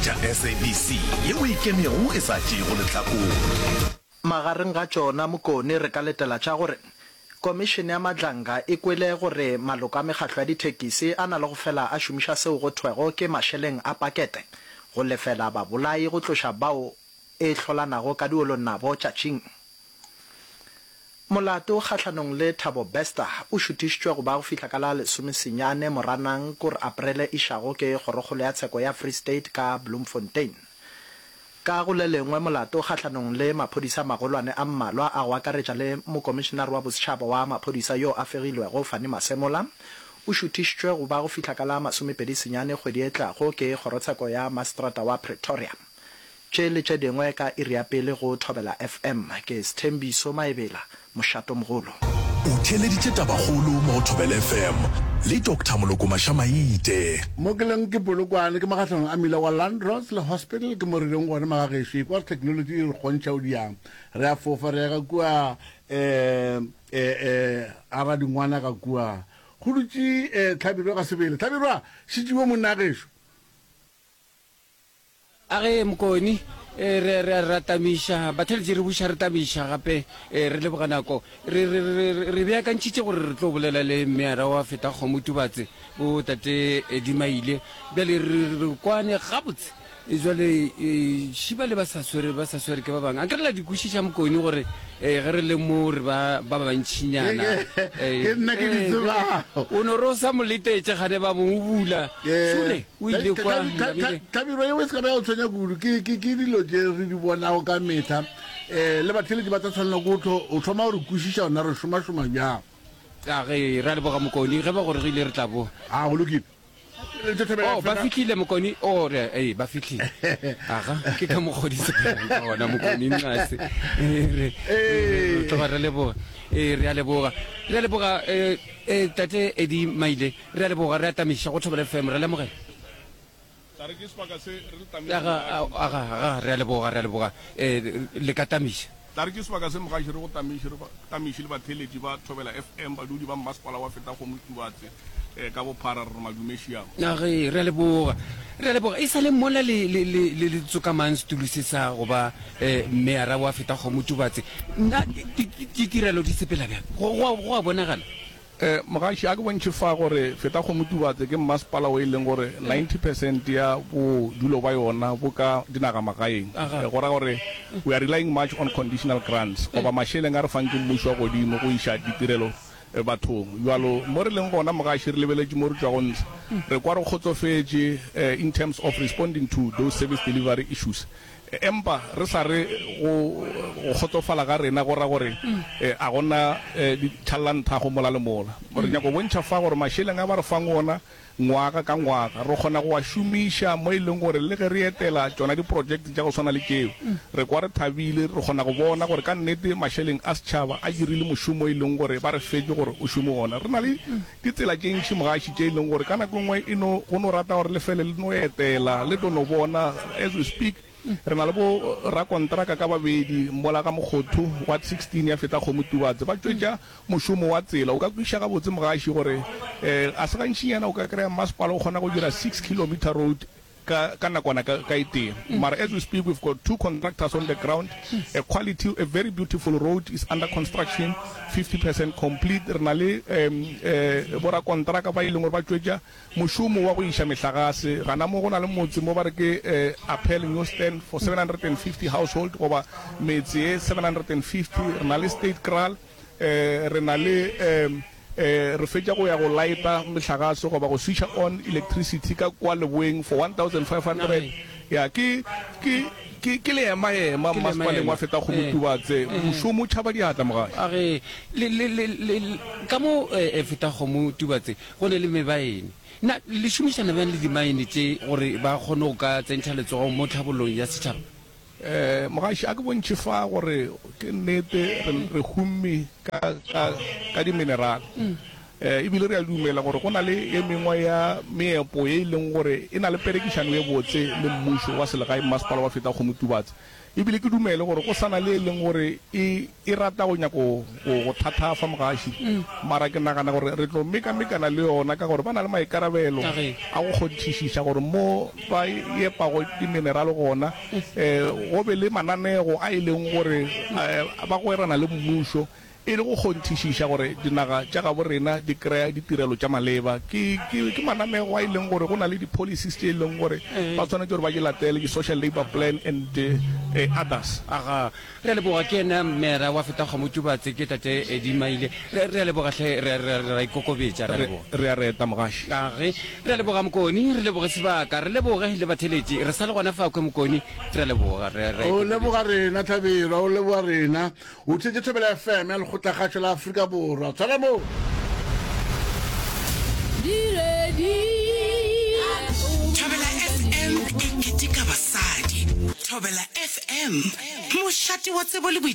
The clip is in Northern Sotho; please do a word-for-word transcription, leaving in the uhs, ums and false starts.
theeletša S A B C yeo e ikemego e sa tšeego lehlakore. Magareng ga tšona, Mokone, re ka letela tša gore Komišene ya Madlanga e kwele gore maloko a mekgahlo ya dithekisi a na le go fela a šomiša seo go thwego ke mašeleng a pakete go lefela babolai go tloša bao e hlolanago ka diolong nabo tšatšing. Molato kgahlanong le Thabo Bester o šuthišitšwe go ba go fihla ka la lesomesenyane Moranang kur Aprele išago ke Kgorokgolo ya Tsheko ya Free State ka Bloemfontein. Ka go le lengwe molato kgahlanong le maphodisa a magolwane a mmalwa a go akaretša le Mokomišenare wa Bosetšhaba wa Maphodisa yo a fegilwego Fannie Masemola o šuthišitšwe go ba go fihla ka la masomepedi senyane kgwedi e tlago ke Kgorotsheko ya Maseterata wa Pretoria. Tše le tše dingwe ka iri ya pele go Thobela F M. Ke Sthembiso Maebela, Mošatomogolo. O theeleditše Tabakgolo mo go Thobela F M le Doctor Moloko Mašamaite. Mo ke leng ke Polokwane, ke magahlanong a mmila wa Landros le Hospital, ke mo re leng gona magagešo. Ekwa gore technology e re kgontšha o diang. Re a fofa re ya ka kua um um a radingwana ka kua. Go dutše um Hlabirwa ka sebele. Hlabirwa, šetšiwe monna gešo. A ge Mokone eh, re re ra tamiša batheletši, re buša re tamiša gape, eh, re leboga nako re re re re beakantšhitše gore re tlo bolela le mmeara wa Fetakgomo Tubatse, bo tate Edimaile. Bjale re re kwane gabotse. Jwale šiba le ba sa swere ba sa swere ke ba bangwe, a ke re la di kwešiša Mokone gore eh, ge re le mo re ba ba bantšhinyana. Ke nna ke di tsebago. O no re o sa mo letetše gane ba mo bula sule o ile kwa. Hlabirwa, yeo e se ka ba ya go tshwenya kudu. ke ke ke dilo tše re di bonago ka metlha, um le batheletši ba tla tshwanela ko o thoma gore kwešiša gona re šomašoma bjang. A ge ra leboga Mokone, ge ba gorogile re tla boa. A go lokile. Oh, ba fihlile Mokone. Oh, re ee, ba fihlile. Aga, ke ka mokgodise ka gona Mokone nqase. Re re tloga re leboga. Eh, re a leboga. Re a leboga eh eh tate Edi Maile. Re a leboga, re a tamiša go Thobela F M, re lemogela. Tla re ke sebaka se re le tamiša. Aga, aga, aga, re a leboga, re a leboga. Eh le ka tamiša. Tla re ke sebaka se mogaši re go tamiše, re tamiše le batheeletši ba Thobela F M, badudi ba mmasepala wa Fetakgomo Tubatse ka bophara, re re madumešiago. A ge re a leboga, re a leboga. E sa le mola le le le le le tsokamang setulo se sa go ba eh meyara wa Fetakgomo Tubatse, na ditirelo di sepela bjang? Go go go a bonagala. Eh mogaši, a ke bontšhe fa gore Fetakgomo Tubatse ke mmasepala o e leng gore ninety percent ya bodulo ba yona bo ka dinagamagaeng. Aga. Go ra gore we are relying much on conditional grants goba mašeleng a re fang ke mmušo wa godimo go iša ditirelo bathong. Bjalo mo re leng gona mogaši, re lebeletše mo re tšwago ntshe, re kwa re kgotsofetše in terms of responding to those service delivery issues, empa re sa re go go kgotsofala ga rena go ra gore a gona ditšhallanthago mola le mola. Re nyaka go bontšha fa gore mašeleng a ba re fang ona ngwaga ka ngwaga re kgona go a šomiša mo e leng gore le ge re etela tšona diprojekte tša go swana le tšeo, re kwa re thabile, re kgona go bona gore ka nnete mašeleng a setšhaba a dirile mošomo e leng gore ba re fetše gore o šome ona. Re na le ditsela tše ntši mogaši tše e leng gore ka nako e nngwe e no go no rata gore le fele le no etela le tlo no bona. As we speak, re na le bo rakontraka ka babedi mola ga Mokgothu ward sixteen ya Fetakgomo Tubatse ba tšwetša mošomo wa tsela. O ka kwešiša gabotse mogaši gore um a se gantšinyana o ka kry-a mmasepala o kgona go dira six kilometer road ka ka nakwana ka ka e tee, mara as we speak we've got two contractors on the ground. A quality, a very beautiful road is under construction, fifty percent complete. Re na le um um borakontraka ba e leng gore ba tšwetša mošomo wa go iša mehlagase gana mo go na le motse mo ba re ke um Appel New Stand for seven hundred and fifty household goba metse e seven hundred and fifty. Re na le State Kraal, um re na le um eh re fetša go ya go lighta mehlagase goba go switcha on electricity ka kwa leboeng for one thousand five hundred. Ya ke ke ke ke leema-ema Ke mmasepaleng leema-ema. Wa Fetakgomo Eh, Tubatse, eh. mošomo o tšhaba diatla mogaši. A ge le le le le ka mo eh, Fetakgomo Tubatse go ne le mebaene, na le šomišana bjang le dimaene tše gore ba kgone go ka tsentšha letsogo mo tlhabollong ya setšhaba? um mogaši, a ke bontšhe fa gore ke nnete re re humme ka ka ka diminerale. E bile re a dumela gore go na le e mengwe ya meepo ye e leng gore e na le perekišano ye botse le mmušo wa selegae, Mmasepala wa Fetakgomo-Tubatse. E bile ke dumele gore go sa na le e leng gore e, e rata go nyako go, go thathafa mogaši. Mara ke nagana gore re tlo mekamekana le yona ka gore ba na le maikarabelo a go kgonthišiša gore mo ba epago diminerale gona, um go be le mananego a e leng gore um ba gwerana le mmušo e le go kgonthišiša gore dinaga tša gabo rena di kry-a ditirelo tša maleba. Ke, ke, ke mananego a e leng gore go na le di-policies tše e leng gore ba swanetše gore ba di latele, di-social labour plan and others. Aga, re a leboga. Ke yena Mera wa Fetakgomo Tubatse, ke Tate Eddie Maile. Re, re a leboga hle, re, re, re a ikokobetša, re a Re, leboga. re a reta, Mogaši. Age, re a leboga Mokoni, re leboge sebaka, re leboge le batheeletši. Re sa le gona fa kwe Mokoni, re a leboga, re, re a O ikokobetša. leboga rena, Hlabirwa, o leboga rena. O theetše Thobela F M ya Lekgotlakgašo la Afrika Borwa. Tshwara moo. Thobela F M e keteka basadi. Thobela F M, mošate wa tsebo le boithabišo.